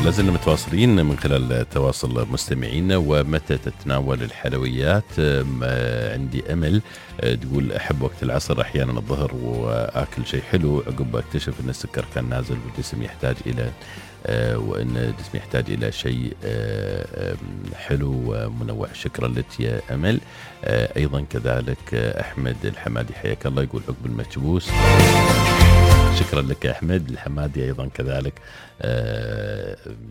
لازلنا متواصلين من خلال تواصل مستمعينا. ومتى تتناول الحلويات؟ عندي أمل تقول أحب وقت العصر أحيانا الظهر وأكل شيء حلو، عقب أكتشف أن السكر كان نازل والجسم يحتاج إلى وأن الجسم يحتاج إلى شيء حلو ومنوع. شكرا لك يا أمل. أيضا كذلك أحمد الحمادي حياك الله، يقول عقب المكبوس. شكرا لك يا أحمد الحمادي. أيضا كذلك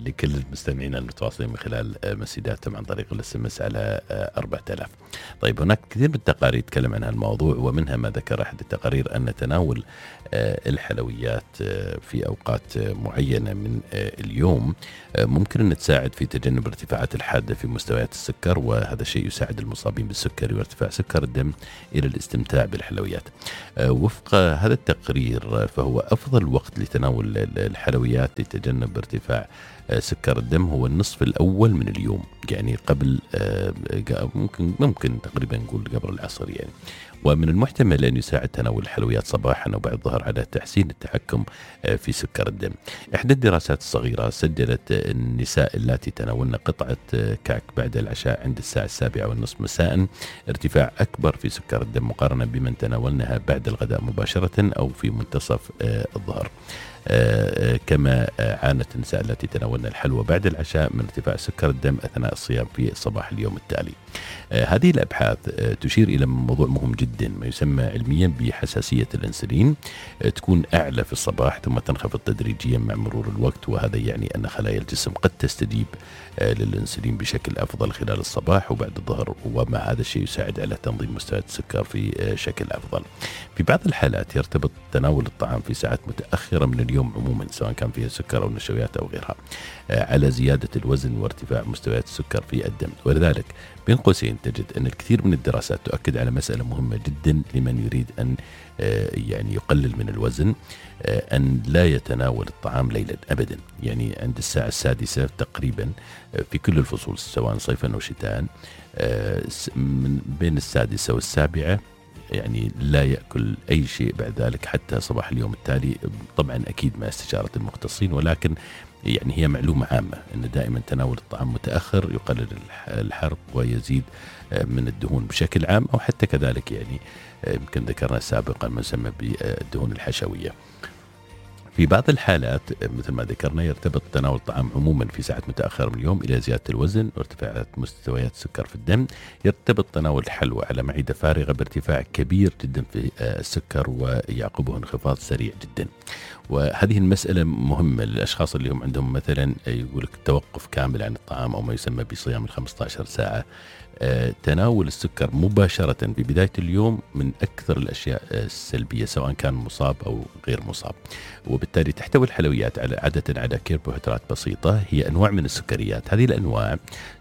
لكل المستمعين المتواصلين من خلال مسيداتهم عن طريق الSMS على 4000. طيب، هناك كثير من التقارير تتكلم عن هالموضوع، ومنها ما ذكر أحد التقارير أن تناول الحلويات في أوقات معينة من اليوم ممكن أن تساعد في تجنب ارتفاعات الحادة في مستويات السكر، وهذا الشيء يساعد المصابين بالسكري وارتفاع سكر الدم إلى الاستمتاع بالحلويات. وفق هذا التقرير فهو أفضل وقت لتناول الحلويات لتجنب ارتفاع سكر الدم هو النصف الأول من اليوم، يعني قبل ممكن تقريبا نقول قبل العصر يعني. ومن المحتمل أن يساعد تناول الحلويات صباحا وبعد الظهر على تحسين التحكم في سكر الدم. إحدى الدراسات الصغيرة سجلت النساء اللاتي تناولن قطعة كعك بعد العشاء عند الساعة 7:30 مساء ارتفاع أكبر في سكر الدم مقارنة بمن تناولنها بعد الغداء مباشرة أو في منتصف الظهر. كما عانت النساء التي تناولن الحلوى بعد العشاء من ارتفاع سكر الدم أثناء الصيام في صباح اليوم التالي. هذه الأبحاث تشير إلى موضوع مهم جدا، ما يسمى علميا بحساسية الأنسولين، تكون أعلى في الصباح ثم تنخفض تدريجيا مع مرور الوقت، وهذا يعني أن خلايا الجسم قد تستجيب للأنسولين بشكل أفضل خلال الصباح وبعد الظهر، ومع هذا الشيء يساعد على تنظيم مستويات السكر في شكل أفضل. في بعض الحالات يرتبط تناول الطعام في ساعات متأخرة من اليوم عموما، سواء كان فيها سكر أو نشويات أو غيرها، على زيادة الوزن وارتفاع مستويات السكر في الدم. ولذلك بين قوسين تجد أن الكثير من الدراسات تؤكد على مسألة مهمة جدا لمن يريد أن يعني يقلل من الوزن، أن لا يتناول الطعام ليلا أبدا، يعني عند الساعة 6 تقريبا في كل الفصول سواء صيفا أو شتاء، من بين 6 و7 يعني لا يأكل أي شيء بعد ذلك حتى صباح اليوم التالي، طبعا أكيد مع استشارة المختصين، ولكن يعني هي معلومة عامة أن دائما تناول الطعام متأخر يقلل الحرق ويزيد من الدهون بشكل عام، أو حتى كذلك يعني يمكن ذكرنا سابقا ما يسمى بالدهون الحشوية. في بعض الحالات مثل ما ذكرنا يرتبط تناول الطعام عموما في ساعات متأخرة من اليوم إلى زيادة الوزن وارتفاع مستويات السكر في الدم. يرتبط تناول الحلوى على معدة فارغة بارتفاع كبير جدا في السكر ويعقبه انخفاض سريع جدا. وهذه المسألة مهمة للأشخاص اللي هم عندهم مثلا يقولك توقف كامل عن الطعام أو ما يسمى بصيام 15 ساعة. تناول السكر مباشرة في بداية اليوم من أكثر الأشياء السلبية سواء كان مصاب أو غير مصاب، وبالتالي تحتوي الحلويات عادة على كربوهيدرات بسيطة، هي أنواع من السكريات. هذه الأنواع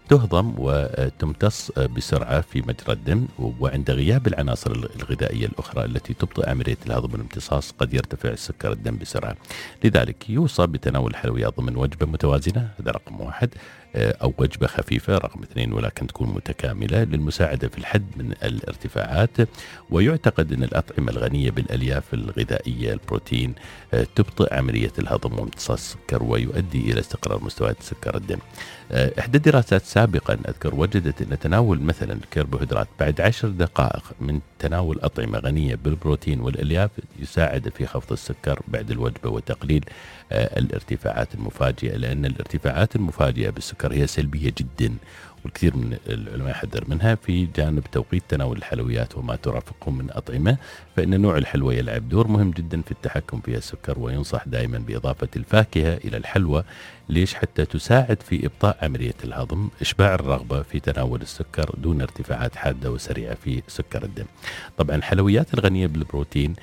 تهضم وتمتص بسرعة في مجرى الدم، وعند غياب العناصر الغذائية الأخرى التي تبطئ عملية الهضم والامتصاص قد يرتفع سكر الدم بسرعة. لذلك يوصى بتناول الحلويات ضمن وجبة متوازنة، هذا رقم 1، أو وجبة خفيفة رقم 2، ولكن تكون متكاملة للمساعدة في الحد من الارتفاعات. ويعتقد أن الأطعمة الغنية بالألياف الغذائية البروتين تبطئ عملية الهضم وامتصاص السكر ويؤدي إلى استقرار مستويات سكر الدم. إحدى الدراسات سابقا أذكر وجدت أن تناول مثلا الكربوهيدرات بعد 10 دقائق من تناول أطعمة غنية بالبروتين والألياف يساعد في خفض السكر بعد الوجبة وتقليل الارتفاعات المفاجئة، لأن الارتفاعات المفاجئة بالسكر هي سلبية جدا، والكثير من العلماء يحذر منها. في جانب توقيت تناول الحلويات وما ترافقه من أطعمة، فإن نوع الحلوى يلعب دور مهم جدا في التحكم في السكر، وينصح دائما بإضافة الفاكهة إلى الحلوى. ليش؟ حتى تساعد في إبطاء عملية الهضم، إشباع الرغبة في تناول السكر دون ارتفاعات حادة وسريعة في سكر الدم. طبعا الحلويات الغنية بالبروتين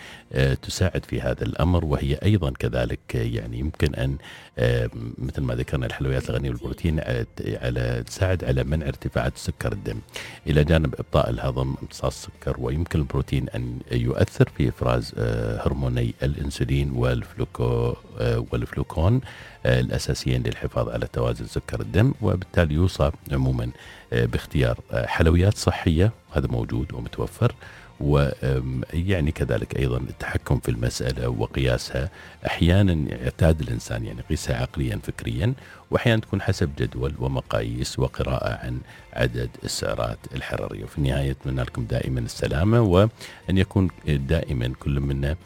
تساعد في هذا الأمر، وهي أيضا كذلك يعني يمكن أن مثل ما ذكرنا الحلويات الغنية بالبروتين تساعد على منع ارتفاعات سكر الدم إلى جانب إبطاء الهضم امتصاص السكر. ويمكن البروتين أن يؤثر في إفراز هرموني الأنسولين والفلوكون الأساسيين للحفاظ على توازن سكر الدم، وبالتالي يوصى عموما باختيار حلويات صحية، هذا موجود ومتوفر، ويعني كذلك أيضا التحكم في المسألة وقياسها. أحيانا يعتاد الإنسان يعني يقيسها عقليا فكريا، وأحيانا تكون حسب جدول ومقاييس وقراءة عن عدد السعرات الحرارية. وفي النهاية أتمنى لكم دائما السلامة، وأن يكون دائما كل منا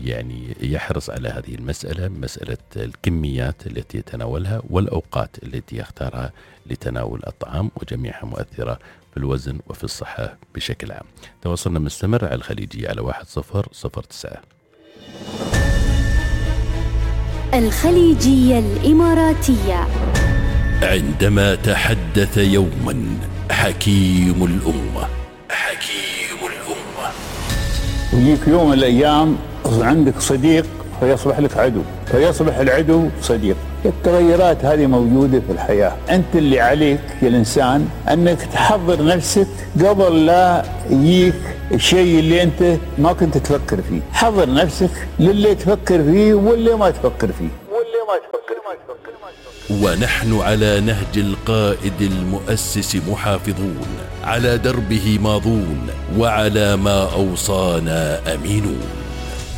يعني يحرص على هذه المسألة، مسألة الكميات التي يتناولها والأوقات التي يختارها لتناول الطعام، وجميعها مؤثرة في الوزن وفي الصحة بشكل عام. تواصلنا مستمر على الخليجية على 1009. الخليجية الإماراتية. عندما تحدث يوما حكيم الأمة، يجيك يوم من الأيام عندك صديق فيصبح لك عدو، فيصبح العدو صديق. التغيرات هذه موجودة في الحياة. أنت اللي عليك يا الإنسان أنك تحضر نفسك قبل لا يجيك الشيء اللي أنت ما كنت تفكر فيه. حضر نفسك للي تفكر فيه واللي ما تفكر فيه. ونحن على نهج القائد المؤسس محافظون، على دربه ماضون، وعلى ما أوصانا أمينون.